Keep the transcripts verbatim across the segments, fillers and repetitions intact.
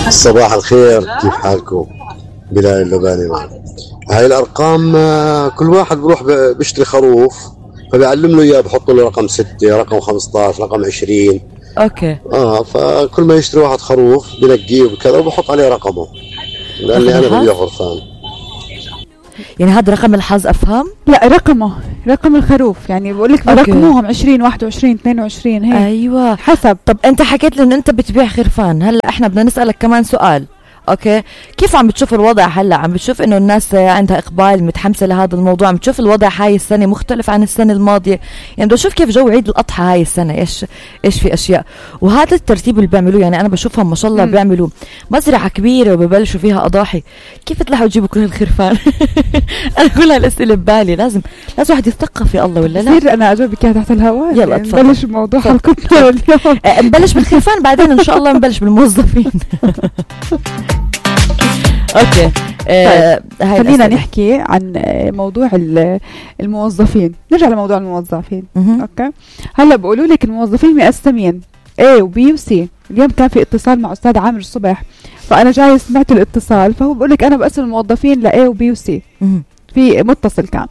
صباح الخير، كيف حالكم؟ بلال اللباني معك. هاي الأرقام كل واحد بروح بيشتري خروف فبيعلم له إياه، بحط له رقم ستة، رقم خمسطعش، رقم عشرين. اوكي. اه فكل ما يشتري واحد خروف بنقيه وكذا وبحط عليه رقمه، لأني أنا بدي غرفان. يعني هذا رقم الحظ أفهم؟ لا رقمه رقم الخروف، يعني بقول لك برقموهم عشرين واحد وعشرين اثنين وعشرين هيك. ايوه حسب. طب انت حكيت لي ان انت بتبيع خرفان، هلا احنا بدنا نسألك كمان سؤال. اوكي، كيف عم بتشوف الوضع هلا؟ عم بتشوف انه الناس عندها اقبال متحمسه لهذا الموضوع؟ عم بتشوف الوضع هاي السنه مختلف عن السنه الماضيه؟ يعني بدي اشوف كيف جو عيد الاضحى هاي السنه، ايش ايش في اشياء. وهذا الترتيب اللي بيعملوه، يعني انا بشوفهم ما شاء الله بيعملوا مزرعه كبيره وببلشوا فيها اضاحي. كيف تطلعوا تجيبوا كل الخرفان؟ انا كل هالاسئله ببالي. لازم لازم واحد يتثقف في الله ولا لا؟ كثير انا اجاوبك تحت الهواء. يلا يعني نبلش بموضوع حلقتنا اليوم. نبلش بالخرفان بعدين ان شاء الله نبلش بالموظفين. اوكي. آه طيب. خلينا نحكي عن موضوع الموظفين. نرجع لموضوع الموظفين. اوكي، هلا بقولوا لك الموظفين مقسمين A و B و C. اليوم كان في اتصال مع استاذ عامر الصبح، فانا جاي سمعت الاتصال، فهو بقول لك انا بقسم الموظفين ل A و B و C. في متصل كان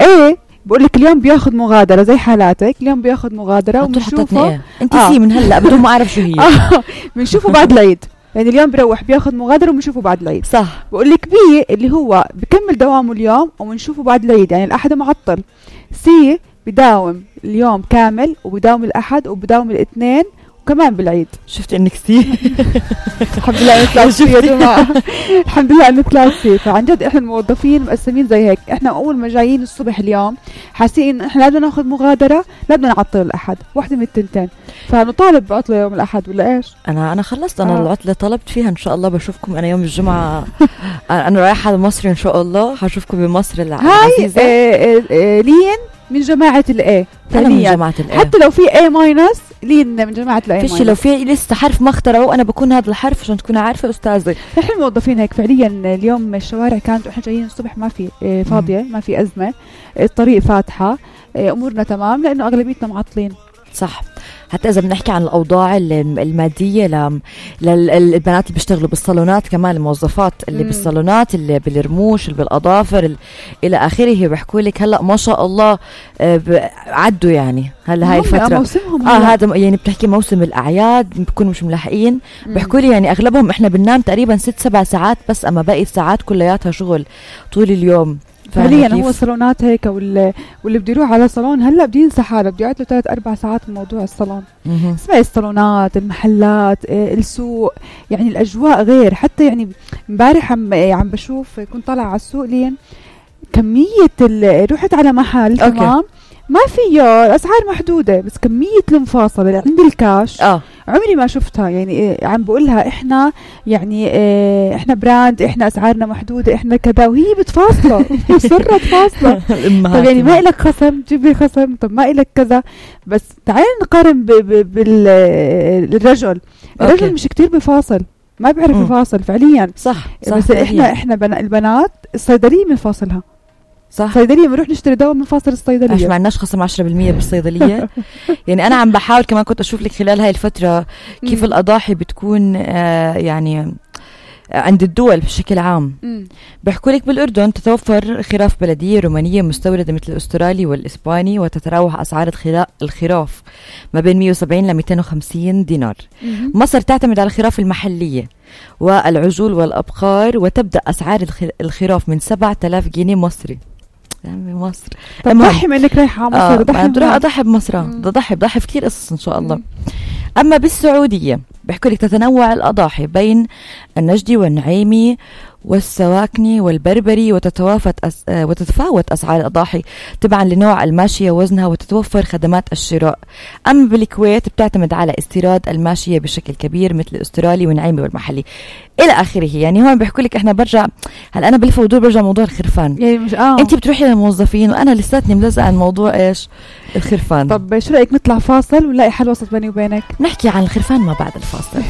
A بقول لك اليوم بياخذ مغادره زي حالاتك، اليوم بياخذ مغادره وبنشوفه. انت آه. سي من هلا بدون ما اعرف شو هي. آه. بنشوفه بعد العيد، يعني اليوم بروح بياخذ مغادره وبنشوفه بعد العيد. صح. بقول لك بي اللي هو بكمل دوامه اليوم وبنشوفه بعد العيد، يعني الاحد معطل. سي بداوم اليوم كامل وبداوم الاحد وبداوم الاثنين وكمان بالعيد. شفت انك سي. الحمد لله انك طلعت سي يا جماعه. الحمد لله انك طلعت سي. فعن جد احنا الموظفين مقسمين زي هيك. احنا اول ما جايين الصبح اليوم حاسين احنا لازم ناخذ مغادره، لا بدنا نعطل الاحد، واحده من التنتين، فنطالب بعطله يوم الاحد ولا ايش؟ انا انا خلصت. انا آه. العطله طلبت فيها، ان شاء الله بشوفكم انا يوم الجمعه. انا رايحه لمصر ان شاء الله، هشوفكم بمصر العزيزه. هاي لين من جماعة الأ. أنا من جماعة الأ. حتى لو في A ماينس لين من جماعة الأ. فيش لو في لسه حرف ما اخترعوه أنا بكون هذا الحرف عشان تكون عارفة أستاذي. نحن الموظفين هيك فعليا. اليوم الشوارع كانت إحنا جايين الصبح ما في فاضية، ما في أزمة، الطريق فاتحة، أمورنا تمام لأنه أغلبيتنا معطلين. صح. حتى إذا بنحكي عن الأوضاع المادية للبنات اللي بيشتغلوا بالصالونات، كمان الموظفات اللي مم. بالصالونات، اللي بالرموش، اللي بالأظافر إلى آخره، بيحكوا لك هلأ ما شاء الله عدوا يعني هلا هاي الفترة. آه هذا يعني بتحكي موسم الأعياد بيكونوا مش ملاحقين. بيحكوا لي يعني أغلبهم إحنا بننام تقريبا ست سبع ساعات بس، أما باقي الساعات كلياتها شغل طول اليوم. فعليا هو الصالونات هيك، واللي واللي بده يروح على صالون هلا بده ينسى حاله، بده يقعد له ثلاث اربع ساعات من موضوع الصالون. اسمعي الصالونات، المحلات، السوق، يعني الاجواء غير. حتى يعني امبارح عم عم بشوف، كنت طالعه على السوق لين كميه رحت على محل تمام ما فيه الاسعار محدوده، بس كميه المفاصله اللي عند الكاش اه عمري ما شفتها. يعني عم بقولها احنا يعني اه احنا براند، احنا اسعارنا محدوده، احنا كذا، وهي بتفاصله مصره فاصله. طب يعني ما إلك خصم جيبي خصم، طب ما إلك كذا. بس تعال نقارن بالرجل. الرجل مش كتير بفاصل، ما بيعرف يفاصل فعليا. صح, صح بس احنا احنا بنا البنات الصيدليه بنفاصلها. صح. صيدليه بنروح نشتري دواء من فاصل الصيدليه. مش معناش خصم عشرة بالمية بالصيدليه. يعني انا عم بحاول كمان، كنت اشوف لك خلال هاي الفتره كيف الاضاحي بتكون آه يعني عند الدول بشكل عام. بيحكوا لك بالاردن تتوفر خراف بلديه رومانيه مستورده مثل الاسترالي والاسباني، وتتراوح اسعار الخراف ما بين مية وسبعين ل مئتين وخمسين دينار. مم. مصر تعتمد على الخراف المحليه والعجول والابقار، وتبدا اسعار الخراف من سبعة آلاف جنيه مصري. يعني مصر ضحي منك رايحه على مصر. ضحي بدي اضحي بمصر، بدي اضحي بضحي كثير قصص ان شاء الله. مم. اما بالسعوديه بيحكوا لك تتنوع الاضاحي بين النجدي والنعيمي والسواكني والبربري، وتتوافت أس... وتتفاوت أسعار الأضاحي تبعا لنوع الماشية وزنها، وتتوفر خدمات الشراء. أما بالكويت بتعتمد على استيراد الماشية بشكل كبير مثل الأسترالي والنعيمي والمحلي إلى آخره. يعني هون بيحكوا لك إحنا برجع هل أنا بلف ودور برجع موضوع الخرفان. يعني مش آه. أنت بتروحي للموظفين وأنا لساتني ملزقة عن موضوع إيش الخرفان. طب شو رأيك نطلع فاصل ونلاقي حل وسط بيني وبينك؟ نحكي عن الخرفان ما بعد الفاصل.